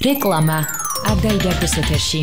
რეკლამა არ დაიდარდეს ეთერში.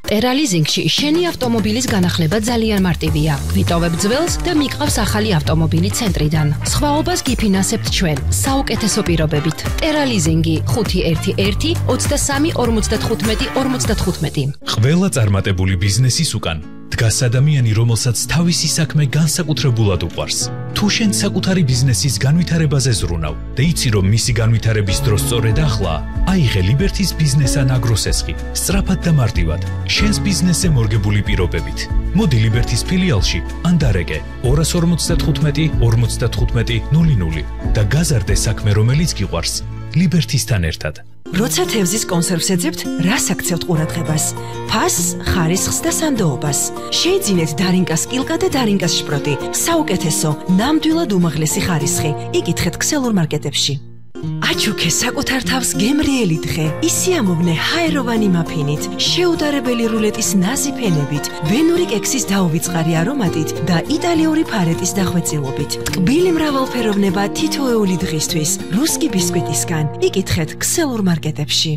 ტერალიზინგში შენი ავტომობილის განახლება ძალიან მარტივია. ვიტოვებ ძველს და მიყავს ახალი ავტომობილი ცენტრიდან. სხვაობას გიფინანსებთ ჩვენ საუკეთესო პირობებით. ტერალიზინგი 511 23 55 55. ყველა წარმატებული ბიზნესის უკან დგას ადამიანი, რომელსაც თავისი საქმე განსაკუთრებულად უყვარს. თუ შენ საკუთარი ბიზნესის განვითარებაზე ზრუნავ და იცი, რომ მისი განვითარების დრო სწორედ ახლაა, აიღე ლიბერთის ბიზნესან აგროსესხი, სწრაფად და მარტივად, შენს ბიზნესზე მორგებული პირობებით. მოდი ლიბერთის ფილიალში ან დარეკე 255 55 00 და გაზარდე საქმე, რომელიც გიყვარს, ლიბერთისთან ერთად. როცა თევზის კონსერვს ეძებთ, რას აქცევთ ყურადღებას? ფასს, ხარისხს და სანდოობას. შეიძინეთ დარინკას კილკა და დარინკას შპროტი. საუკეთესო, ნამდვილად უმაღლესი ხარისხი. იკითხეთ ქსელურ მარკეტებში. აჩუქე საკუთარ თავს გემრიელი დღე. ისიამოვნე ჰაეროვანი მაფინით, შეუდარებელი რულეტის ნაზი ფენებით, ვენური კექსის დაუვიწყარი არომატით და იტალიური ფარეტის დახვეწილობით. ტკბილი მრავალფეროვნება თითოეული დღისთვის. რუსკი ბისკვიტისგან. იკითხეთ ქსელურ მარკეტებში.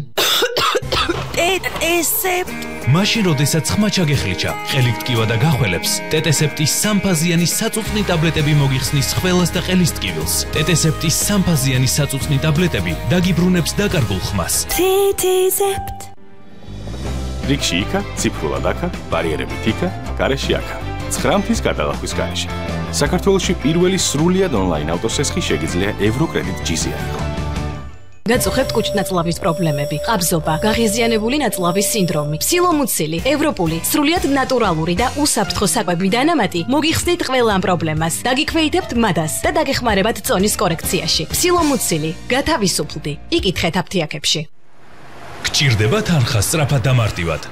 ტეტესეპტ მაშინ როდესაც ხმა ჩაგეხლიჩა, ყელით ტკივა და გახველებს, ტეტესეპტის სამფაზიანი საწუწნი ტაბლეტები მოგიხსნის ხველას და ყელის ტკივილს. ტეტესეპტის სამფაზიანი საწუწნი ტაბლეტები დაგიბრუნებს დაკარგულ ხმას. ტეტესეპტ რიგში იქა, ციფრულად აქა, ბარიერებით იქა, გარეშე აქა. 9 მთის გადალახვის გარეშე. საქართველოში პირველი სრულიად ონლაინ ავტოსესხი შეგიძლია ევროკრედიტ GC-ი იყო. გაწუხებთ კუჭნაწლავის პრობლემები, ყაბზობა, გაღიზიანებული ნაწლავის სინდრომი, სილომუცილი, ევროპული, სრულიად ნატურალური და უსაფრთხო საკვები დანამატი მოგიხსნით ყველა ამ პრობლემას. დაგიქვეითებთ მადას და დაგეხმარებათ წონის კორექციაში. სილომუცილი, გათავისუფლდი. იკითხეთ აფთიაქებში. გჭირდება თანხა სწრაფად და მარტივად.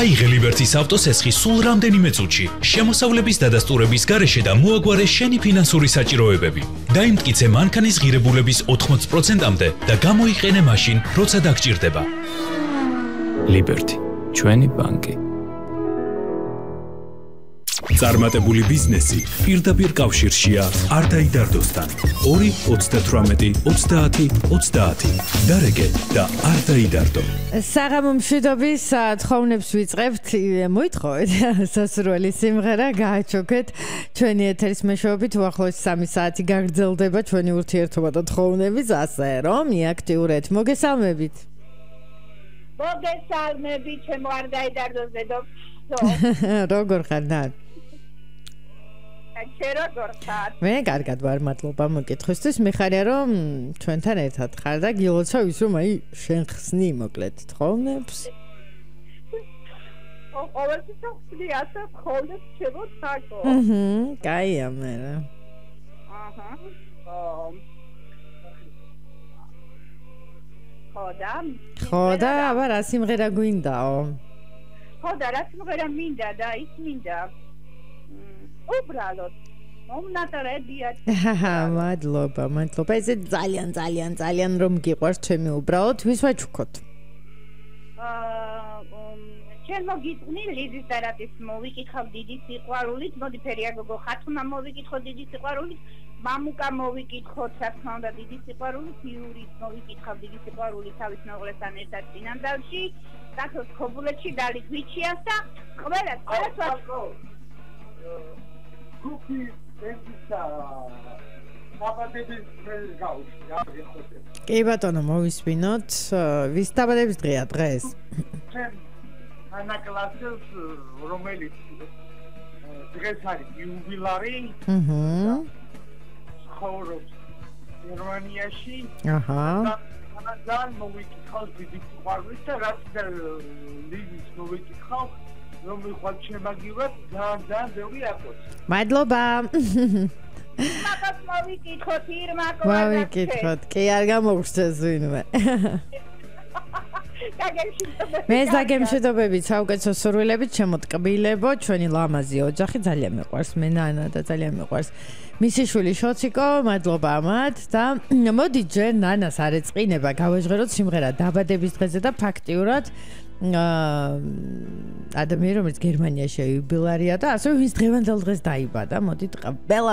აიღე ლიბერთის ავტოსესხი სულ რამდენიმე წუთში, შემოსავლების დადასტურების გარეშე და მოაგვარე შენი ფინანსური საჭიროებები. დაიმტკიცე მანქანის ღირებულების 80%-მდე და გამოიყენე მაშინ, როცა დაგჭირდება. ლიბერთი, ჩვენი ბანკი. წარმატებული ბიზნესი პირდაპირ კავშირშია არ დაიდარდოსთან. 2 38 30 30. დარეკე და არ დაიდარდო. საღამო მშვიდობის თხოვნებს ვიწყებთ. მოითხოვეთ სასურველი სიმღერა, გააჩოქეთ ჩვენი ეთერის მეშვეობით. უახლოესი 3 საათი გაგრძელდება ჩვენი ურთიერთობა და თხოვნების, ასე რომ მიაქტიურეთ. მოგესალმებით. მოგესალმებით, ჩემო არ დაიდარდოს დედოფლო. როგორ ხარ? მე კარგად ვარ, მადლობა მოკითხვისთვის. მიხარია რომ ჩვენთან ერთად ხარ და გილოცავ ის რომ აი შენ ხსნი მოკლედ თხოვნებს. ყოველთვის ხსნი ასე თხოვნებს ჩემო თაკო. კაია მე. ხოდა, აბა რა სიმღერა გვინდაო? ხოდა რა სიმღერა მინდა და ის მინდა. უბრალოდ მომნატრებიათ. მადლობა. ესე ძალიან რომ გიყვარს ჩემი უბრალოდ ვის ვაჩუქოთ? ჩვენ მოგიწვნი ლიზის დარატის მოვიკითხავ დიდი სიყვარულით, მოდი ფერია გოგო ხათუნა მოვიკითხო დიდი სიყვარულით, მამუკა მოვიკითხოთ რა თქმა უნდა დიდი სიყვარულით, იურის მოვიკითხავ დიდი სიყვარულით თავის მეუღლესთან ერთად წინანდალში, საქართველოს ქობულეთში დალით ვიჩიას და ყველა გუპი ესისა დაბადების დღეს გავუშვი, აღიხოცე. კი ბატონო, მოვისმინოთ. ვის დაბადების დღეა დღეს? ჩემ ანა კლასის რომელიც დღეს არის იუბილარი. ცხოვრობს გერმანიაში. ძალიან მოვიკითხავ დიდი სიყვარულით და რაც და ლიზის მოვიკითხავ რომ მიხვალ შემაგივად ძალიან ბევრი აკოც. მადლობა. მაგას მოვიკითხოთ ირმაკო. მოვიკითხოთ. კი არ გამოგვრჩეს ვინმე. მე დაგემშვიდობებით, საუკეთესო სურვილებით, შემოტკბილებო, ჩვენი ლამაზი ოჯახი ძალიან მიყვარს, მე ნანა და ძალიან მიყვარს მისი შვილი შოციკო, მადლობა მათ და მოდი ჯერ ნანას არ ეწყინება, გავაჟღეროთ სიმღერა დაბადების დღეზე და ფაქტიურად ადამიანი, რომელიც გერმანიაში იუბილარია და ასევე ვინც დღევანდელ დღეს დაიბადა, მოდით ყველა